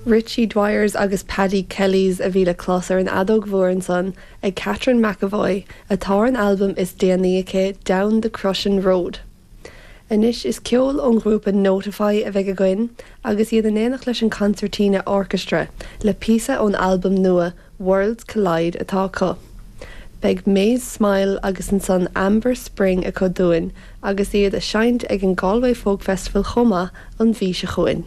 Richie Dwyers agus Paddy Kellys a bhí le clos ar an fheadóg mhór ansan ag Catherine McEvoy, atá ar an albam is déanaí aici, Down the Crushing Road. Anois is ceol ón ghrúpa Notify a bheidh againn agus iad in éineacht leis an Concertina Orchestra le píosa ón albam nua Worlds Collide atá acu. Beidh Maze Smile agus ansan Amber Spring acu dúinn agus iad a seinnt ag an Galway Folk Festival chomh maith an mhí seo chugainn.